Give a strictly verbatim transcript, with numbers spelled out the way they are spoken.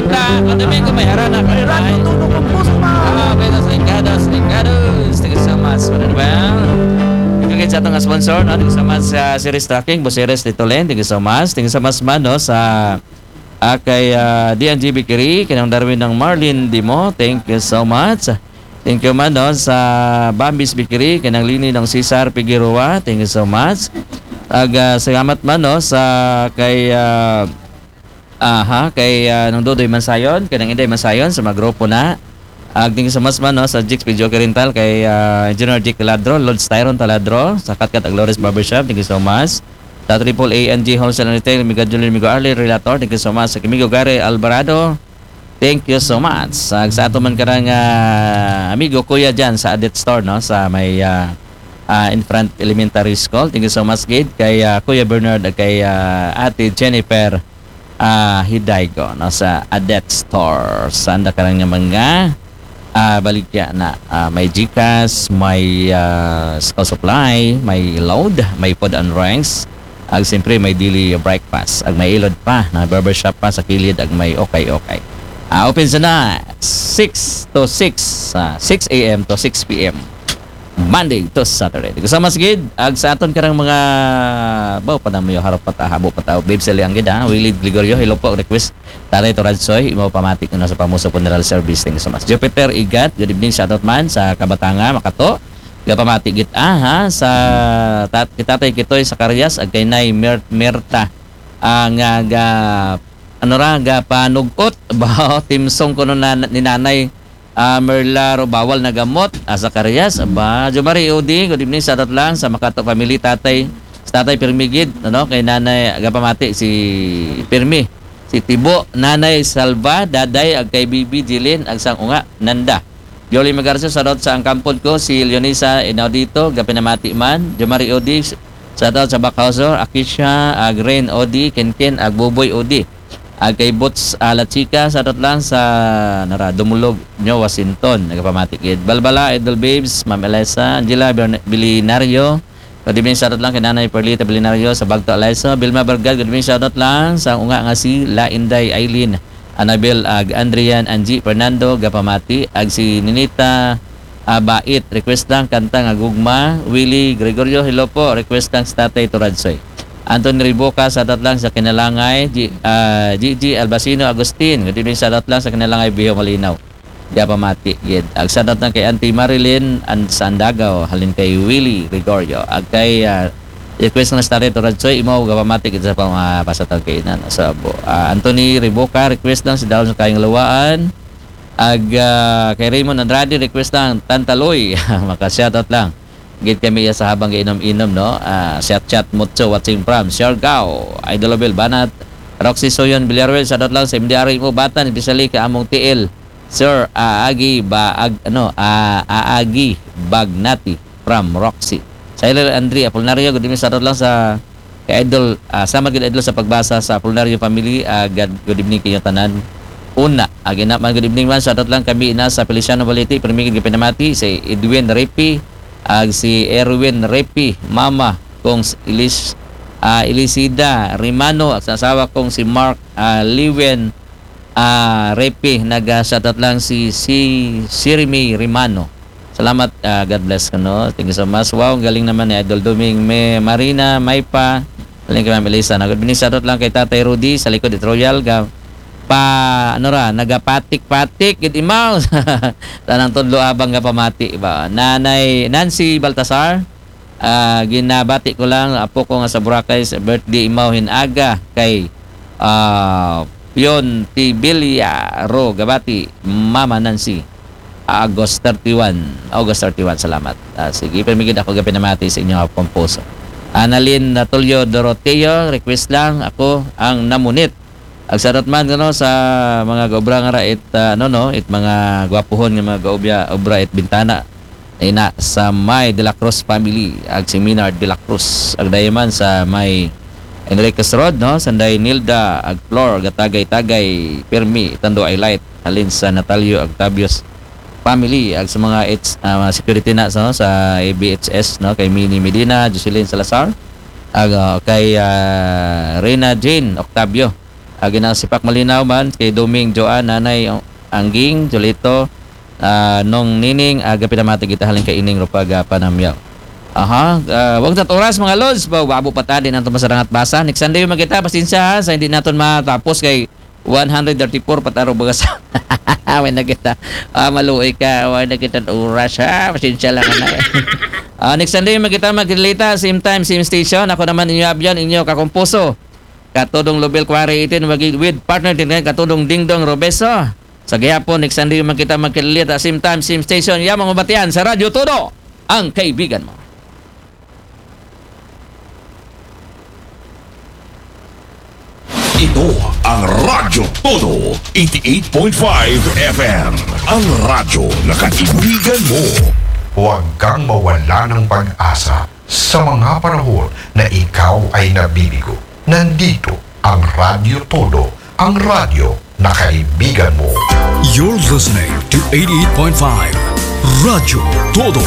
Ka, o Domingo may harana. Ay, radyo, tunog ang puso mo. Ah, okay, sa Linggados, Linggados. Thank you so much. Ano ba? Thank you sa atong sponsor, no? Thank you so much sa Series Trucking, Buseres Titolen. Thank you so much. Thank you so much man, no, sa, ah, kay, ah, D N G Bakery, kanang Darwin ng Marlin Dimo. Thank you so much. Thank you man, no, sa Bambis Bakery, kanang Lini ng Cesar Figueroa. Thank you so much. Ag, ah, salamat man, no, sa kay, ah, aha, kay, ah, Nang Dodoy Mansayon, kay Nang Inday Mansayon, sa mga grupo na. Ag, thank you so much man, no, sa Jix Videoke Rental, kay, ah, Engineer Jake Taladro, Lord Styron Taladro, sa Katkat Aglores Barbershop, thank you so much. Sa Triple A N G Wholesale and Retail, Miga Julian, Migo Arlene Relator, thank you so much. Sa Kimigo Gary Alvarado, thank you so much. Sa, sa ato man karang, ah, amigo Kuya Jan sa Adet Store, no, sa may, ah, ah, in front elementary school, thank you so much, gid, kay, ah, Kuya Bernard, kay, ah, Ate Jennifer, ah, Hidaygo, no, sa Adet Store. Sanda ka lang nga mga, ah, baligya na, ah, may Gcash, may, ah, school supply, may load, may food and drinks. Ag siyempre, may daily breakfast. Ag may ilod pa, na barbershop pa sa kilid, ag may okay-okay. Ah, open sa na six to six, ah, six a m to six p m. Monday to Saturday. Kasama sa gid, ag sa aton karang mga, baw pa na mo yung harap pa ta, habo pa ta, Babe Saliang gid, ha? Willie Gregorio, hello po, request. Tatay Toradsoy, imo pamati ko na sa Pamuso Funeral Service. Thank you so much. Jupiter Igat, good evening, shout out man sa Kabatanga, Makato. Gapamati gid, ah, ha, sa tat-, kay Tatay Kitoy sa Karyas, ag kay Nay Mer-, Merta, ah, nga ga, ano ra, gapanugot, ba, timsong kuno na, ni Nanay, ah, Merla Robawal na gamot, ah, sa Karyas, ba, Jomari Udi, good evening, shout out lang sa Makato family, tatay, sa tatay Pirmi gid, ano, kay Nanay, gapamati si Pirmi, si Tibo, Nanay Salva, Daday, ag kay Bibi Jilin, ag sang unga, Nanda. Yoli Magarcio, shout out sa ang kampod ko, si Leonisa Inaudito, gapinamati man, Jomari Udi, shout out sa Bakhauser, Akisha, ag Rain Udi, Kenken, ag Buboy Udi. Ag kay Boots, ah, La Chica, shout out lang sa nara, Dumulog, New Washington, nagapamati gid. Balbala, Idol Babes, Ma'am Elisa, Angela Bern-, Bilinario, good evening, shout out lang kay Nanay Perlita Bilinario sa Bagto, Alaiso. Vilma Bargad, good evening, shout out lang sa unga nga si La Inday Aileen, Annabel, ag Andrian, Angie, Fernando, gapamati, ag si Ninita, ah, Bait, request lang kanta nga gugma. Willie Gregorio, hello po, request lang si Tatay Turadsoy. Anthony Riboca, shout out lang sa Kinalangay, G-, ah, Gigi Albacino Agustin, good evening, shout out lang sa Kinalangay, Biho Malinaw. Gapamati gid. Ag shout out lang kay Auntie Marilyn and sa Andagaw, halin kay Willie Gregorio. Ag kay, ah, request na si Tatay Turadsoy, imo gapamati gid sa pang, ah, pasatag kainan. Sa abo. Ah, Anthony Riboca, request lang si Daon sa Kayang Luwaan. Ag, ah, kay Raymond Andrade, request lang, Tantaloy. Maka-shout out lang. Gid kami iya sa habang gainom-inom, no? Ah, chat-chat mucho watching from Siargao. Idol Obel Banat, Roxy Soyon Villarreal, shout out lang sa M D R mo, Batan, especially ka among T L. Sir, aagi ba, ag, ano, ah, aagi bagnati from Roxy. Silent Andre Apolinario, good evening, shout out lang sa kay Idol, ah, sama gid Idol sa pagbasa sa Apolinario family, ah, God, good evening kayo tanan. Una, agi na man, good evening man, shout out lang kami na sa Feliciano Baliti, permigid pinamati, si Edwin Repi, ag si Erwin Repi, mama, kong si Elis-, ah, Elisida Rimano, at sa asawa kong si Mark, ah, Liwen, ah, Repi, naga-shout out lang si, si Sirmi Rimano. Salamat, ah, God bless ka, no? Thank you so much. Wow, ang galing naman ni Idol Duming. May Marina, may pa. Galing kay Ma'am Elisa. Na, good evening, shout out lang kay Tatay Rudy sa likod it Royal. Ga, pa, ano ra, nagapatik-patik, gid imaw. Tanang tudlo abang nga pamati ba? Nanay Nancy Baltasar, ah, ginabati ko lang, apo ko nga sa Boracay, sa birthday imaw hin aga kay, ah, Pion Tibilia Ro Gabati, Mama Nancy. August thirty-one. August thirty-one, salamat. Ah, sige, pamigid ako gapinamati sa inyo, ah, pomposo. Annalyn Natulio Doroteo, request lang, ako ang namunit. Ag shout out man, ano, sa mga gaobra nga ra it, ah, ano, no, it mga gwapuhon nga mga gaobya, obra it bintana. Ina sa may De La Cruz family, ag si Minard De La Cruz. Ag dayaman sa may Enriquez Road, no, Sanday Nilda, ag Flor, gatagay-tagay, pirmi, tando ay light. Halin sa Natalio Octavius family, ag sa mga it's, ah, mga security na, no, sa A B H S, no, kay Mini Medina, Jocelyn Salazar, ag, ah, kay, ah, Reyna Jane Octavio, Agi na si Pak Malinaw man, kay Doming, Joan, Nanay, Angging, Jolito, ah, Nong Nining, aga pinamati kita halin kay Ining Rupaga Panamyaw. Aha, ah, wag tat oras, mga lods. Ba, wabo pa ta, di naton masarangat basa. Next Sunday man kita, pasensya ha, sa hindi naton matapos kay one hundred thirty-four pataro baga sa. Way na kita. Ah, maluoy ka, way na kita oras ha. Pasensya lang na. Ah, next Sunday man kita magkilita, same time, same station. Ako naman inyo abyan, inyo kakumpuso. Katudong Lubel Quarry itin wagi with partner din kay Katudong Dingdong Robeso. Sa gihapon, next Sunday man kita magkilita, same time, same station. Yamang mabatian sa Radyo Todo, ang kaibigan mo. Ito ang Radyo Todo, eighty-eight point five F M. Ang radyo na kaibigan mo. Huwag kang mawala ng pag-asa sa mga panahon na ikaw ay nabibigo. Nandito ang Radyo Todo, ang radyo na kaibigan mo. You're listening to eighty-eight point five Radyo Todo.